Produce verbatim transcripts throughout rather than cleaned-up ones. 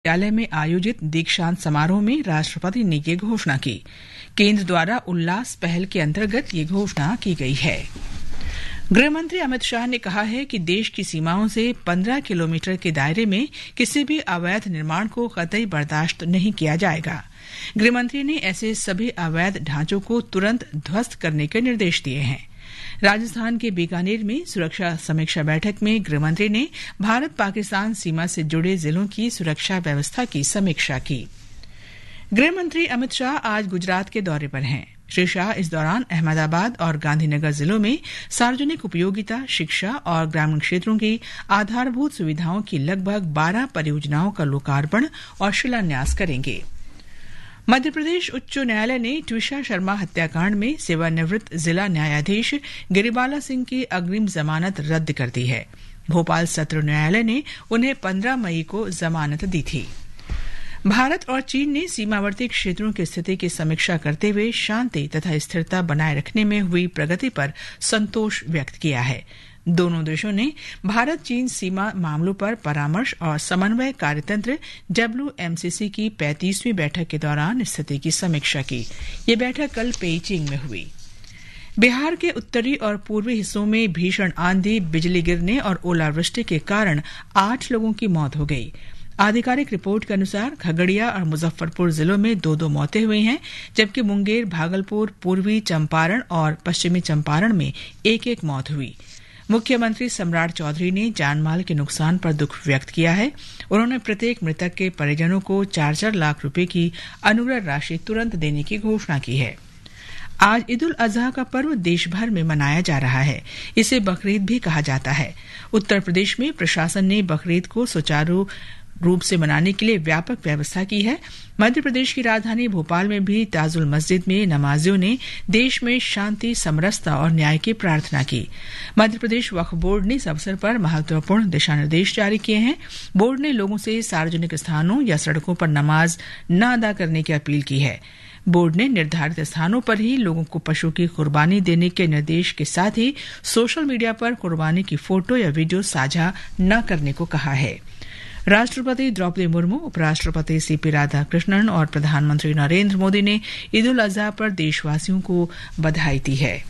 विश्वविद्यालय में आयोजित दीक्षांत समारोह में राष्ट्रपति ने ये घोषणा की। केंद्र द्वारा उल्लास पहल के अंतर्गत ये घोषणा की गई है। गृह मंत्री अमित शाह ने कहा है कि देश की सीमाओं से पन्द्रह किलोमीटर के दायरे में किसी भी अवैध निर्माण को कतई बर्दाश्त नहीं किया जाएगा। गृह मंत्री ने ऐसे सभी अवैध ढांचों को तुरंत ध्वस्त करने के निर्देश दिए हैं। राजस्थान के बीकानेर में सुरक्षा समीक्षा बैठक में गृह मंत्री ने भारत पाकिस्तान सीमा से जुड़े जिलों की सुरक्षा व्यवस्था की समीक्षा की। गृह मंत्री अमित शाह आज गुजरात के दौरे पर हैं। श्री शाह इस दौरान अहमदाबाद और गांधीनगर जिलों में सार्वजनिक उपयोगिता, शिक्षा और ग्रामीण क्षेत्रों की आधारभूत सुविधाओं की लगभग बारह परियोजनाओं का लोकार्पण और शिलान्यास करेंगे। मध्य प्रदेश उच्च न्यायालय ने ट्विशा शर्मा हत्याकांड में सेवानिवृत्त जिला न्यायाधीश गिरिबाला सिंह की अग्रिम जमानत रद्द कर दी है। भोपाल सत्र न्यायालय ने उन्हें पन्द्रह मई को जमानत दी थी। भारत और चीन ने सीमावर्ती क्षेत्रों की स्थिति की समीक्षा करते हुए शांति तथा स्थिरता बनाए रखने में हुई प्रगति पर संतोष व्यक्त किया है। दोनों देशों ने भारत-चीन सीमा मामलों पर परामर्श और समन्वय कार्यतंत्र, डब्ल्यूएमसीसी, की पैंतीसवीं बैठक के दौरान स्थिति की समीक्षा की। ये बैठक कल पेइचिंग में हुई। बिहार के उत्तरी और पूर्वी हिस्सों में भीषण आंधी, बिजली गिरने और ओलावृष्टि के कारण आठ लोगों की मौत हो गई। आधिकारिक रिपोर्ट के अनुसार, खगड़िया और मुजफ्फरपुर जिलों में दो-दो मौतें हुई हैं, जबकि मुंगेर, भागलपुर, पूर्वी चंपारण और पश्चिमी चंपारण में एक-एक मौत हुई। मुख्यमंत्री सम्राट चौधरी ने जानमाल के नुकसान पर दुख व्यक्त किया है। उन्होंने प्रत्येक मृतक के परिजनों को चार चार लाख रुपए की अनुग्रह राशि तुरंत देने की घोषणा की है। आज ईद उल अजहा का पर्व देश भर में मनाया जा रहा है। इसे बकरीद भी कहा जाता है। उत्तर प्रदेश में प्रशासन ने बकरीद को सुचारू रूप से मनाने के लिए व्यापक व्यवस्था की है। मध्य प्रदेश की राजधानी भोपाल में भी ताजुल मस्जिद में नमाजियों ने देश में शांति, समरसता और न्याय की प्रार्थना की। मध्य प्रदेश वक्फ बोर्ड ने इस अवसर पर महत्वपूर्ण दिशा निर्देश जारी किए हैं। बोर्ड ने लोगों से सार्वजनिक स्थानों या सड़कों पर नमाज न अदा करने की अपील की है। बोर्ड ने निर्धारित स्थानों पर ही लोगों को पशु की कुर्बानी देने के निर्देश के साथ ही सोशल मीडिया पर कुर्बानी की फोटो या वीडियो साझा न करने को कहा है। राष्ट्रपति द्रौपदी मुर्मू, उपराष्ट्रपति सीपी राधाकृष्णन और प्रधानमंत्री नरेंद्र मोदी ने ईद उल अजहा पर देशवासियों को बधाई दी है।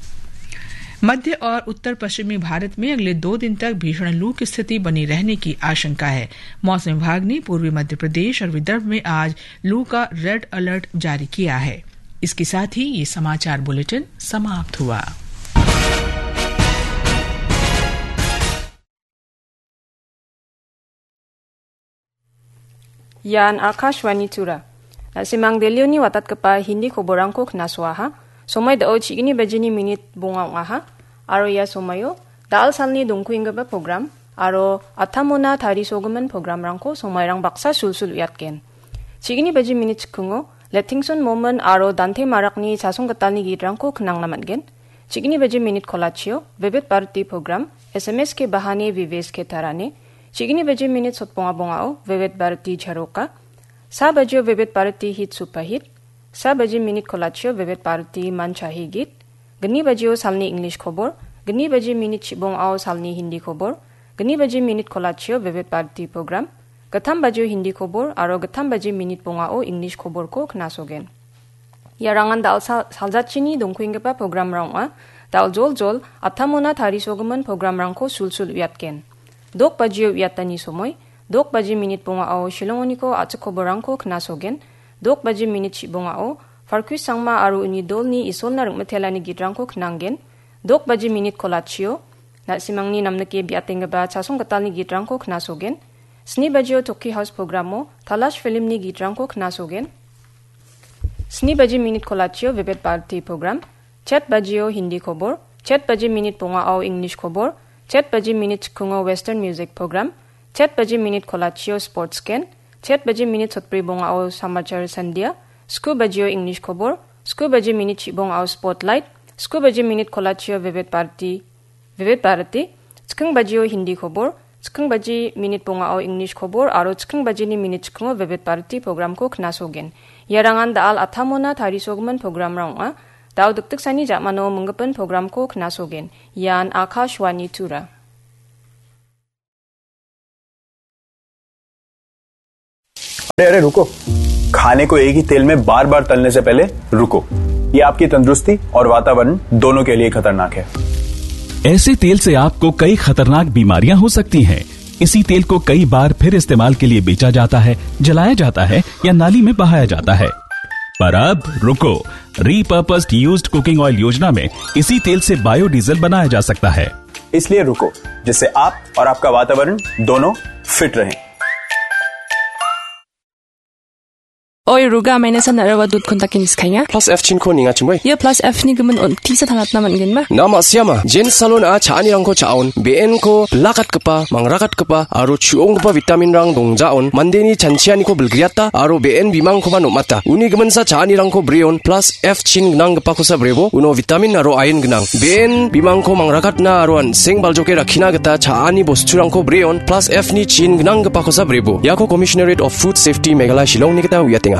मध्य और उत्तर पश्चिमी भारत में अगले दो दिन तक भीषण लू की स्थिति बनी रहने की आशंका है। मौसम विभाग ने पूर्वी मध्य प्रदेश और विदर्भ में आज लू का रेड अलर्ट जारी किया है। इसके साथ ही ये समाचार बुलेटिन समाप्त हुआ। Ian Akashvani Tura. Na·simang Delhioni watatgipa Hindi koborangko knasoaha. Somoi dao chigni bajini minit bonga ong·aha. Aro ia somoio dal salni dongkuenggipa program aro atamona tarisogimin programrangko somoirang baksa sulsul uiatgen. Chigni baji minit chikungo Lettingson Momin aro Dante Marakni chasong gitalni gitrangko knangna man·gen. Chigni baji minit kolachio Vivid Bharati program, S M S ke bahane Vives ke tarane. Chigni baji minit sotbonga bongao Vivid Bharati charoka. Sa bajio Vivid Bharati hit super hit. Sa baji minit kolachio Vivid Bharati man chahi git. Gni bajio salni English khobor. Gni baji minit chibongao salni Hindi khobor. Gni baji minit kolachio Vivid Bharati program. Gittam bajio Hindi khobor aro gittam baji minit bongao English khoborko knasogen. Iarangan dal sal-, saljatchini dongkuenggipa programrang ong·a. Dal jol jol atamona tarisogimin programrangko sulsul uiatgen. Dok bajio uiatani somoi, dok baji minit bongao Shillongoniko a·chik koborangko knasogen. Dok baji minit chibongao Farquis Sangma aro uni dolni Isolna ringmitelani gitrangko knanggen. Dok baji minit kolachio na·simangni namnike biatenggipa chasong gitalni gitrangko knasogen. Sni bajio Toki House programo Talash filmni gitrangko knasogen. Sni baji minit kolachio Vivid Bharati program. Chet bajio Hindi khobor. Chet baji minit bongao English khobor. Chet baji minit chikungo Western music program. Chet baji minit kolachio sports ken. Chet baji minit sotbri bongao Samachar Sandhya. Sku bajio English khobor. Sku baji minit chibongao Spotlight. Sku baji minit kolachio Vivid Bharati Vivid Bharati, chiking bajio Hindi khobor, chiking baji minit bongao English khobor aro chiking bajini minit chikingo Vivid Bharati programko knasogen. Iarangan dal atamona tarisogimin programrang ong·a. Dal dikdiksani ja·mano minggipin programko knasogen. Ian Akashvani Tura. अरे, अरे, रुको। खाने को एक ही तेल में बार-बार तलने से पहले रुको। ये आपकी तंदुरुस्ती और वातावरण दोनों के लिए खतरनाक है। ऐसे तेल से आपको कई खतरनाक बीमारियां हो सकती हैं। इसी तेल को कई बार फिर इस्तेमाल के लिए बेचा जाता है, जलाया जाता है या नाली में बहाया जाता है। पर अब रुको, Repurposed Used Cooking Oil योजना में इसी तेल से बायोडीजल बनाया जा सकता है। इसलिए रुको, जिससे आप और आपका वातावरण दोनों फिट रहें। Oi, ruga, maina san narawa dut kontak inis kanya. Plus F chin ko ninga chimoi. Ia plus F ni gimin on tisa tanat naman gin ma. Nama siama, Jen Salon a cha ani rangko cha on, B N ko blakat kepa, mangrakat kepa, aro chuong kepa vitamin rang dong ja on, mandeni chanchiani ko belgriata, aro B N bimang ko ba nomata. Uni gimin sa cha ani rangko breon, plus F chin gnang gepa kosa brebo, uno vitamin aro ain gnang. B N bimang ko mangrakat na aro an seng baljoke rakina geta cha ani bostu rangko breon, plus F ni chin gnang gepa kosa brebo. Iako Commissionerate of Food Safety Meghalaya Shillong ni geta uiatenga.